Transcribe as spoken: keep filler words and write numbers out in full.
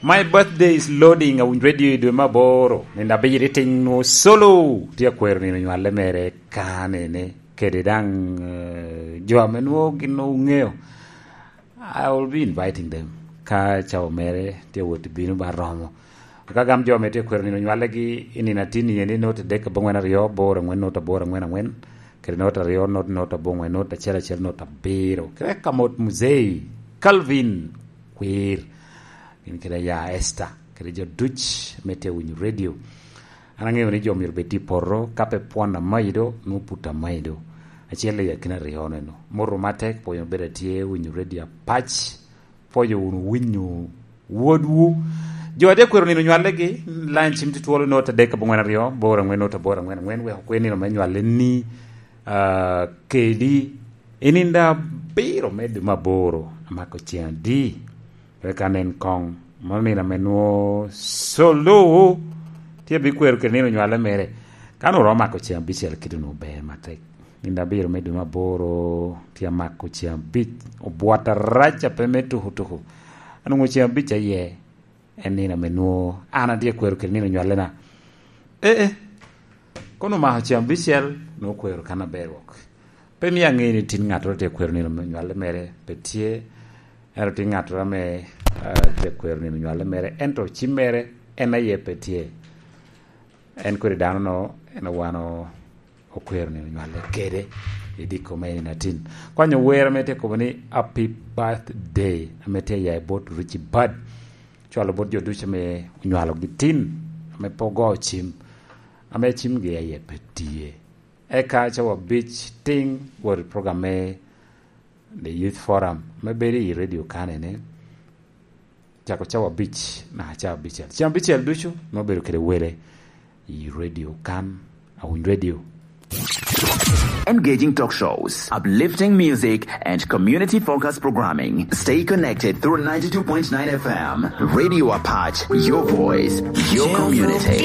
My birthday is loading, awinyo radio i dwe me aboro, nino abiro i tiŋ nwo solo, tye akwero nino nywale mere kanene, kede daŋ, eh, jo ame nwo gin nwo ŋeo. I will be inviting them. Ka cawa mere tye wot bino ba romo. Ka gam jo ame tye kwero nino nywalegi i nino atin iye ni nwoto adek aboŋwen aryo, aboro aŋwen, nwoto aboro aŋwen aŋwen, kede nwoto aryo, nwoto, nwoto aboŋwen, nwoto acel acel, nwoto abiro. Kede ka mot Muzei, Calvin, Kwir, gin kede ya Esther, kede jo duc ame tye winyo radio. An aŋeo ni jo myero bed tye i poto, ka pe pwon amayi do, nwoto put amayi do. Acel i akina aryo neno. Moto matek, pwonyo bedo atye winyo radio apac, pwoyo wunu winyo wodwu. Jo a tye kwero nino nywalegi, line cim tye twolo nwoto adek aboŋwen aryo, aboro aŋwen, nwoto aboro aŋwen aŋwen, wek okwe nino me nywale ni, ah, kedi i nino abiro me dwe me aboro, amako ceŋ adi? Wek anen koŋ, mano nino ame nwo solo tye abikwero kede nino nywale mere. Ka nwo romo mako ceŋ abicel kite nwo ber matek. Nino abiro me dwe me aboro tye amako ceŋ abic, obwot arac a pe me tuku tuku. Anwoŋo ceŋ abic aye en nino ame nwo an atye akwero kede nino nywalena. Ee, ee. Kono omako ceŋ abicel, nwo kwero kan aber wok. Pe mio aŋe ni tin ŋattoro tye akwero nino nywale mere, pe tye. Ento tin ŋattoro ame, ah, tye akwero nino nywale mere, ento cim mere en aye pe tye. En kodi dano-no, en owano okwero nino nywale kede i diko me en atin. Kwanyo wer ame tye kobo ni Happy Birthday, ame tye ya i bot Richie Bad. Cwalo bot jo ducu ame onywalogi tin, ame pe ogo cim, ame cimgi aye pe tye. Eka cawa abic tiŋ wot i program me The Youth Forum, ame bedo i radio kanene, cako cawa abic naka cawa abicel. Cawa abicel ducu nwoŋo bedo kede wele i radio kan, Awiny Radio. Engaging talk shows, uplifting music, and community-focused programming. Stay connected through ninety-two point nine F M. Radio Apac, your voice, your community.